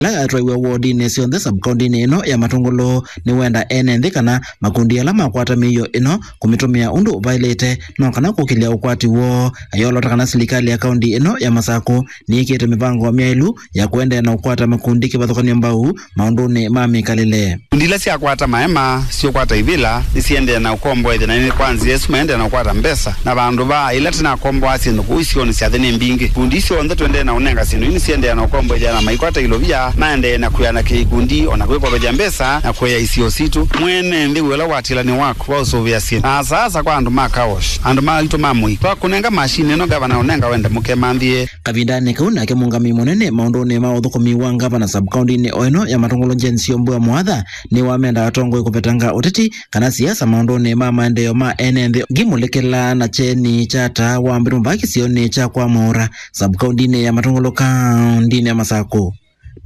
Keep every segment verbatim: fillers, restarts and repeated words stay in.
Ala atwaiwe wodinĩ syonthe sub-kaũndĩnĩ ĩno ya Matũngũlũ nĩwenda ene nthĩ kana makundi ala makwata mĩio ĩno kũmĩtũmĩa ũndũ ũvaĩlĩte no kana kũkĩlya ũkwati woo. Ayolota kana silikalĩ ya kaũndi ĩno ya Masakũ nĩĩkĩte mĩvango myaĩlu ya kũendeea na ũkwata makundi kĩvathũkany'o mbau maũndũnĩ ma mĩkalĩle. Ikundi ila syakwata maema, syũkwata ivĩla, nĩsiendee na ũkomboethya, na nĩ kwa nzĩa ĩsu maendee na ũkwata mbesa. Na vandũ va ĩla tũnakomboaa syĩndũ kũu isionĩ sya nthĩ nĩ mbingĩ. Ikundi isu syonthe tũendee na ũnenga syĩndũ ii nĩsiendee na ũkomboethya na maikwata ilovia, maendee na kwĩanakĩa ikundi, o na kwĩkovethya mbesa, na kũea isio sitũ. Mwene nthĩ wĩ ũla ũatĩĩla nĩ waku wa ũsũvĩa syĩndũ. Na asa asa kwa andũ ma car wash, andũ maitũ ma mũi, twakũnenga mashini ĩno, ngavana ũnenga wende mũkemanthĩe. Kavindanĩ kau nake mũũngamĩi mũnene maũndũnĩ ma ũthũkũmi wa ngavana sub-kaũndĩnĩ o ĩno ya Matũngũlũ Jane Sio Mbua Mwatha nĩwamenda atongoi kũvetanga ũteti kana siasa maũndũnĩ ma maendeeo ma ene nthĩ. Ngĩmũlĩkĩla na kyeni kya taa wa mbitũ vaa kĩsionĩ kya kwa Mwaũra sub-kaũndĩnĩ ya Matũngũlũ kaũndĩnĩ ya Masakũ,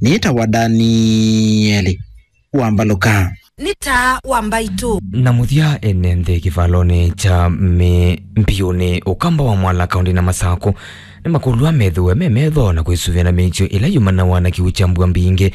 nĩtawa Danieli Wambalũka. Nĩ taa wa mbaitũ. Na mũthya, ene nthĩ kĩvalonĩ kya mĩ-, mbiũnĩ Ũkamba wa Mwala kaũndĩnĩ ya Masakũ nĩmakũlw'a methĩwe me metho na kwĩsũvĩa na mĩĩkyo ĩla yumanawa na kĩw'ũ kya mbua mbingĩ.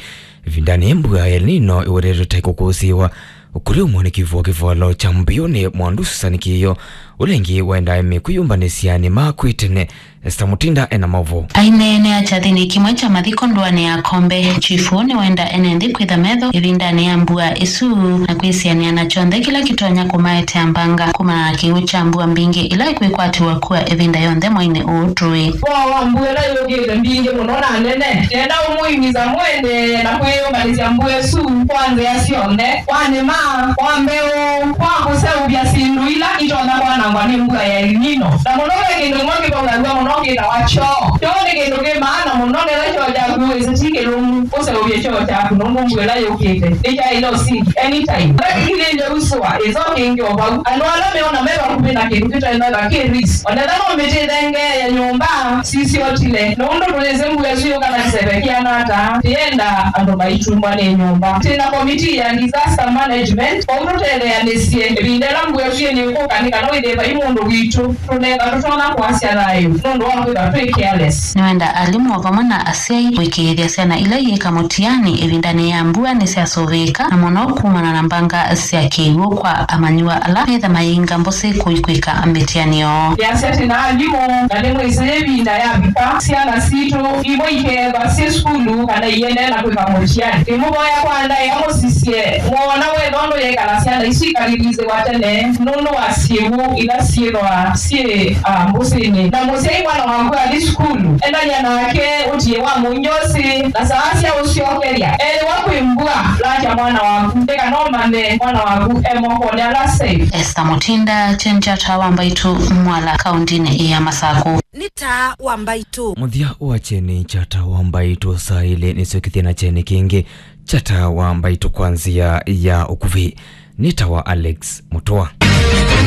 Ĩvindanĩ yĩ mbua ya El Nino ĩwetetwe ta ĩkũkũsĩĩwa kũrĩ ũmwe nĩ kĩvũo kĩvalo kya mbiũnĩ mwandu Susan Kĩĩo, ũla ĩngĩ waendaa mĩkwĩyũmbanĩsya nĩmakw'ĩte tene. Esther Mutinda ena maũvoo. Aineenea kyathĩnĩ kĩmwe kya mathiko ndũanĩ ya Kombe, chifu nĩwenda ene nthĩ kwĩtha metho ĩvindanĩ ya mbua ĩsu na kwĩsĩanĩa na kyonthe kĩla kĩtonya kũmaetea mbanga kumana na kĩw'ũ kya mbua mbingĩ ila ikwĩkwatĩw'a kua ĩvinda yonthe mwainĩ ũũ tũĩ. Wa, wa mbua ĩla yũkĩte mbingĩ mũno na nene, nenda ũmũimiza mũendeee na kwĩyũmbanĩsya mbua ĩsu kwa nzĩa syonthe, kwa nĩma, kwa mbeũ, kwa kũseũvya syĩndũ ila itonya kwanangwa nĩ mbua ya El Nino. Na mũno ve kĩndũ kĩmwe kĩvaũlaw'a mũno kĩtawa kyoo. Kyoo nĩ kĩndũ kĩ maana mũno, nĩla kyoo kyaku wĩsĩ ti kĩlũmu, ũseũvye kyoo kyaku nũndũ mbua ĩla yũkĩte nĩkyaĩle ũsingi anytime. Ĩla kĩkilĩlye usũa, ĩsoo kĩngĩ o vau. Andũ ala meona me vakuvĩ na kĩndũ kĩtaĩ na ĩva kĩ risk. Onetha no mĩtĩ ĩthengee ya nyũmba sisiotile. Nũndũ tũyĩsĩ mbua ĩsu yũka na kĩseve kĩana ata, tĩenda andũ maitumbwa nĩ nyũmba. Twĩ na komitii ya disaster management, kwoou tũtetheanĩsye ĩvinda ĩla mbua ĩsu yĩnĩkũka nĩ kana wĩthĩe vai mũndũ witũ tũnenga tũtonya kũasya thayũ nũndũ wa kwĩthwa twĩ careless. Nĩwenda alimũ o vamwe na asyai kũĩkĩĩthya syana ila iĩka mũtiani ĩvindanĩ ya mbua nĩsyasũvĩĩka, na mũno kumana na mbanga sya kĩw'ũ kwa amanyĩw'a ala metha mayĩinga mbũsĩ kũikwĩka mĩtiani yoo. Nĩasya twĩ na alimũ, na nĩmwĩsĩ ĩvinda yavika, syana sitũ imwe ikeethwa syĩ sukulu kana iendee na kwĩka mũtiani. Nĩmũvoya kwa ndaĩa mũsisye, mwoona wetho ndũyĩka na syana isu ikalilĩsĩwa tene nũndũ wa syĩw'ũ ila syĩthwa syĩ, ah, mbũsĩnĩ. Na mũsyai mwana waku athi sukulu, endany'a nake ũtiĩ wa mũngyosi na saa sya ũsyokelya. Ethĩwa kwĩ mbua, lakya mwana waku ndĩkanomane mwana waku e mokonĩ ala safe. Esther Mutinda, Kyeni kya Taa wa Mbaitũ, Mwala, kaũndĩnĩ ya Masakũ. Nĩ Taa wa Mbaitũ. Mũthya wa Kyeni kya Taa wa Mbaitũ saa ilĩ nĩsyokĩthya na kyeni kĩngĩ kya Taa wa Mbaitũ kwa nzĩa ya ũkuvĩ. Nĩtawa Alex Mũtũa.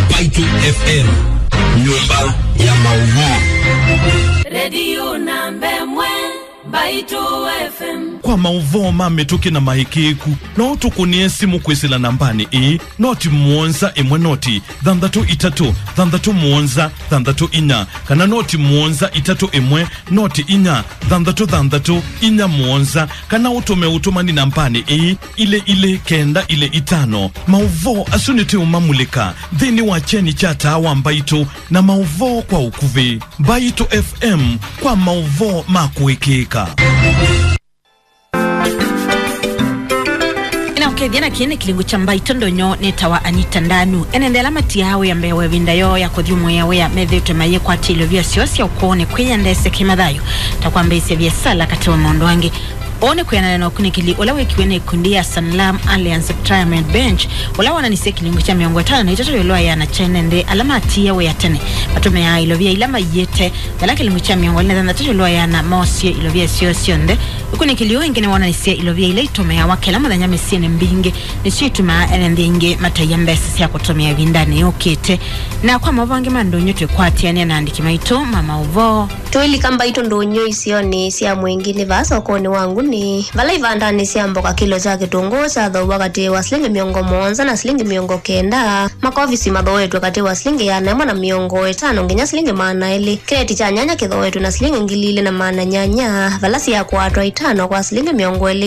Mbaitũ F M, nyũmba ya maũvoo. Redio namba ĩmwe, Mbaitũ F M. Kwa maũvoo ma mĩtũkĩ na maĩkĩĩku, no ũtũkũnĩe simũ kwĩsĩla nambanĩ ĩĩ, noti mũonza ĩmwe noti thanthatũ itatũ thanthatũ mũonza thanthatũ inya, kana noti mũonza itatũ ĩmwe noti inya thanthatũ thanthatũ inya mũonza, kana ũtũme ũtũmani nambanĩ ĩĩ, ilĩ ilĩ kenda ilĩ itano. Maũvoo asu nĩtũũmamulĩka nthĩnĩ wa kyeni kya Taa wa Mbaitũ na maũvoo kwa ũkuvĩ. Mbaitũ F M kwa maũvoo ma kũĩkĩĩka. Ĩna ũkethya na kĩĩ nĩ kĩlungu kya Mbaitũ ndonyo nĩtawa Anita Ndanu. Ene nthĩ ala matiaa wĩa mbee wa ĩvinda yoo ya kũthyũmũĩa wĩa methĩĩtwe mayĩkwatya ilovia syoo sya ũkũũnĩ kwĩyendeesya kĩmathayũ, ta kwambĩĩsya viasala katĩ wa maũndũ angĩ. Ũũ nĩ kwĩanana na ũkunĩkĩli ũla wĩkiwe nĩ ĩkundi ya Sanlam Alliance Retirement Bench, ũla wonanisye kĩlungu kya mĩongo ĩtano na itatũ ĩũlũ wa ĩana kya ene nthĩ ala matiie wĩa tene matũmĩaa ilovia ila maiĩte, na ĩla kĩlungu kya mĩongo ĩlĩ na thanthatũ ĩũlũ wa ĩana moosie ilovia syoo syonthe. Ũkunĩkĩli ũũ ĩngĩ nĩwonanisye ilovia ila itũmĩawa kĩla mũthenya mĩsyĩnĩ mbingĩ nĩsyo itumaa ene nthĩ aingĩ mataĩa mbesa sya kũtũmĩa ĩvindanĩ yũkĩte. Na kwa maũvoo angĩ ma ndũnyũ twĩkwatĩanĩa na andĩki maitũ ma maũvoo. Tũilika Mbaitũ ndũnyũ isionĩ sya Mwingi nĩ vaa sokonĩ wa Ngũndũ. Nĩ vala ivandanĩ sya mboka kĩlo kya kĩtũngũũ kyathooaw'a katĩ wa silingi mĩongo mũonza na silingi mĩongo kenda, makovisi mathooetw'e katĩ wa silingi ĩana ĩmwe na mĩongo ĩtano nginya silingi maana elĩ. Kĩleti kya nyanya kĩthooetw'e na silingi ngili ilĩ na maana nyanya, vala syakwatwa itano kwa silingi mĩongo ĩlĩ.